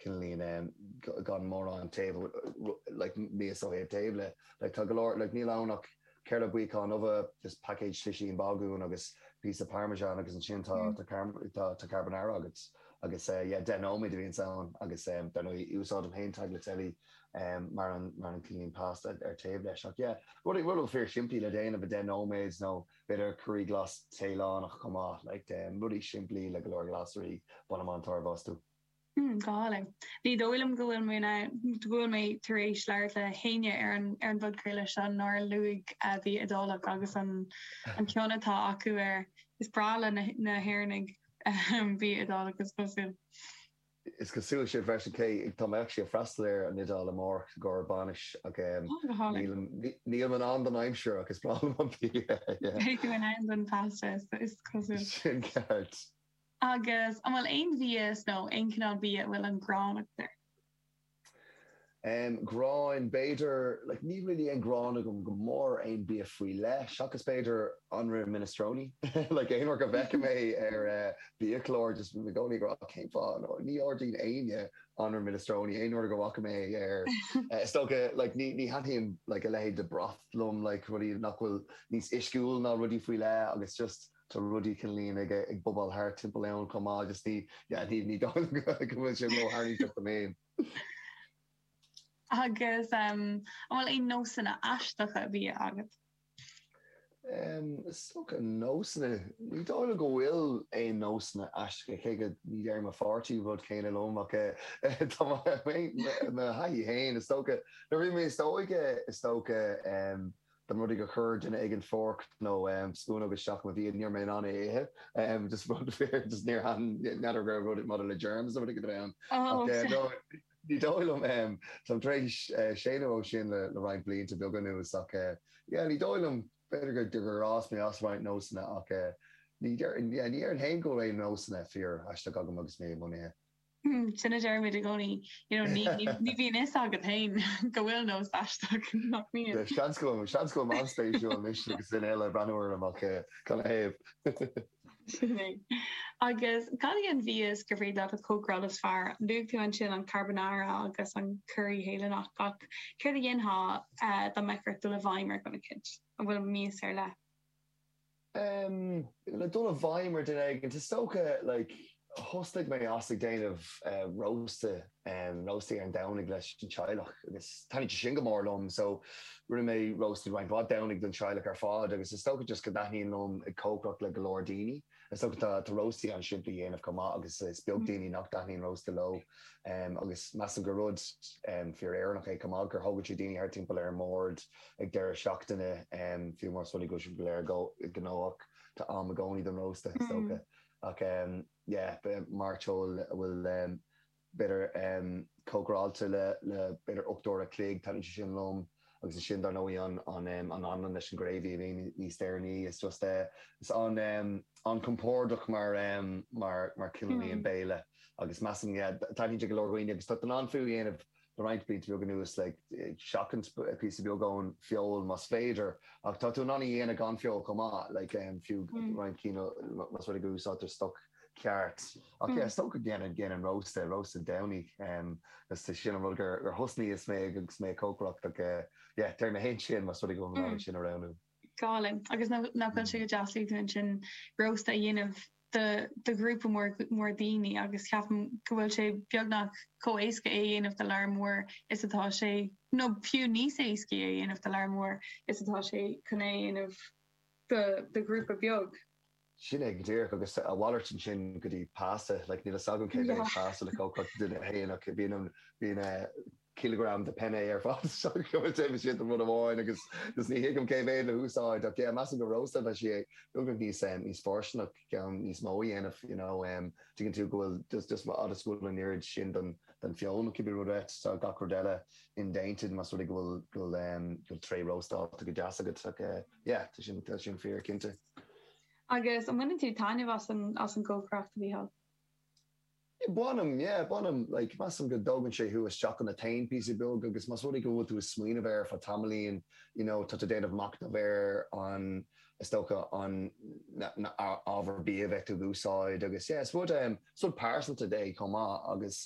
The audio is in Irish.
cineáilín gan mórán taobh like mias ó thaobh taobh le like tá go leor like níl ann ach ceithre buíocán ubh just paicéad slisín bagún agus píosa parmesan agus ansin tá tá tá carbonara agat agus yeah 10 nóiméad a bhíonns ann agus dar ndóigh úsáidim féin tagliatelle mar an mar an cineáilín pasta ar taobh leis ach yeah rud rud fíor simplí le déanamh i 10 nóiméad nó b'fhéidir curaí glas Téalannach chomh maith like rudaí simplí le go leor glasraí bainim an-tairbhe astu. Mm, go hálainn. Ní dóigh liom go bhfuil mé in ann, go bhfuil mé tar éis labhairt le héinne ar an ar an bpodchraoladh seo nár luaigh bia Iodálach agus an an cion atá acu air. Is breá le na na hÉireannaigh bia Iodálach is cosúil. Is cosúil sin freisin, cé tá mé actually ag freastal ar an Iodáil amárach i gcomhair bainis ach Oh, go hálainn. nílim nílim in ann don aimsir ach is breá liom an bia, yeah. Beidh tú in ann don pasta is cosúil. Sin ceart. Agus an bhfuil aon mhias nó aon chineál bia a bhfuil an ghráin agat air? Em, gráin, b'fhéidir, like níl really aon ghráin agam go mór aon bia faoi leith, seachas b'fhéidir anraith minestrone. Like aon uair go bhfeicim é ar eh biachlár just bím i gcónaí ag rá cén fáth, nó ní ordaíonn éinne anraith minestrone aon uair go bhfaca mé é ar eh is dócha like ní ní thaitníonn like a leithéid de broth liom like rudaí nach bhfuil níos uisciúil ná rudaí faoi leith agus just Tá rudaí cineáilín ag ag bobáil thart timpeall ann chomh maith just ní yeah ní ní dóigh liom go bhfuil sé ró-tharraingteach dom féin. Agus an bhfuil aon nósanna aisteacha bia agat? Is dócha nósanna, ní dóigh liom go bhfuil aon nósanna aisteacha, cé go ní deir mo pháirtí rud céanna liom ach tá mo thaithí féin, is dócha, nuair a bhí mé níos óige is dócha, Dá mba rud é gur chuir duine éigin fork nó spúnóg isteach i mo bhia, ní raibh mé in ann é a ithe. Just rud fíor, just níor thaitin, n'fheadar go raibh rud maidir le germs nó rud éigin a bheith ann. Ach no, ní dóigh liom, táim tar éis séanadh ó sin le roinnt blianta beaga anuas ach yeah, ní dóigh liom, b'fhéidir gur gur fhás mé as roinnt nósanna ach ní déarfainn, yeah, ní déarfainn féin go bhfuil aon nósanna fíor aisteach agam agus mé i mbun ithe. Sin a deirimid i gcónaí, you know, ní, ní, ní bhíonn fhios agat féin go bhfuil nós aisteach nach mbíonn. Seans go bhfuil, seans go bhfuil an-spéisiúil anois agus duine eile ag breathnú orm ach canathaobh. Sin é. Agus cad í an mhias gur féidir leat a chócaráil is fearr? Luaigh tú ansin an carbonara agus an curaí Théalannach ach céard a dhéanfá dá mbeadh ort dul i bhfeidhm ar dhuine eicínt? An bhfuil mias ar leith? Le dul i bhfeidhm ar duine éigin, is dócha, like, thosnaigh mé as ag déanamh rósta, róstaí ar an Domhnaigh leis an teaghlach agus taitníonn sé sin go mór liom so rinne mé róstaí roinnt mhaith Domhnaigh don teaghlach ar fad agus is dócha just go dtaitníonn liom ag cócaireacht le go leor daoine. Is dócha tá tá róstaí an-simplí a dhéanamh chomh maith agus is beag daoine nach dtaitníonn rósta leo agus measaim gur rud fíor-Éireannach é chomh maith gur thógann sé daoine thart timpeall ar an mbord ag deireadh seachtaine, fiú más rud é go bhfuil sibh go léir gnóthach, tá am i gcónaí don rósta, is dócha. Ach yeah, mairteoil a bhfuil b'fhéidir cócaráilte le b'fhéidir 8 uair a chloig, taitníonn sé sin liom. Agus ansin dar ndóigh an anlann leis an gravy a bhíonn níos deireanaí, is just is an-compordach mar mar cineál béile. Agus measaim, yeah, taitníonn sé go leor dhaoine agus tá tú in ann fiú a dhéanamh le roinnt blianta beaga anuas, like, seachaint píosa beag ón feoil más féidir, ach tá tú in ann a dhéanamh gan feoil chomh maith, like, fiú roinnt cinn más rud é go úsáidtear stoc ceart. Ach yeah, is dócha go ndéanann déanann rósta, rósta Domhnaigh, agus sin an rud gur thosnaíos mé agus mé ag cócaireacht ach yeah, deir mé féin sin más rud é go bhfuil mé in ann sin a roghnú. Go hálainn. Agus nach bhfuil sé go deas luaigh tú ansin rósta a dhéanamh do do ghrúpa mór mór daoine agus ceapaim go bhfuil sé beagnach chomh éasca é a dhéanamh do lear mór is atá sé, nó fiú níos éascaí é a dhéanamh do lear mór is atá sé chun é a dhéanamh do do ghrúpa beag. Sin é go díreach agus a mhalairt ansin go dtí pasta, like níl fhios agam cé mhéad pasta le cócaireacht duine féin ach bíonn bíonn cileagram de penne ar fad so go bhfuil sé sin rud amháin agus just ní thuigim cé mhéad le húsáid ach yeah measaim go rósta tá sé beagnach níos níos fóirsteanach ceann níos mó a dhéanamh you know tuigeann tú go bhfuil just just fhad is go bhfuil an oiread sin den den feoil nó cibé rud é tá gach rud eile indéanta más rud é go bhfuil go bhfuil go bhfuil tray róstálta go deas agat ach yeah tá sin tá sin fíor cinnte. Agus an mbaineann tú taitneamh as an as an gcócaireacht a Mhícheáil? Bainim, yeah, bainim. Like, measaim go dtógann sé thú isteach ionat féin píosa beag agus más rud é go bhfuil tú ag smaoineamh air fá tamaillín, you know, tá tú ag déanamh machnamh ar an, is dócha, an, na, na ábhair bia a bheidh tú ag úsáid agus yeah, is rud, is rud pearsanta é chomh maith agus.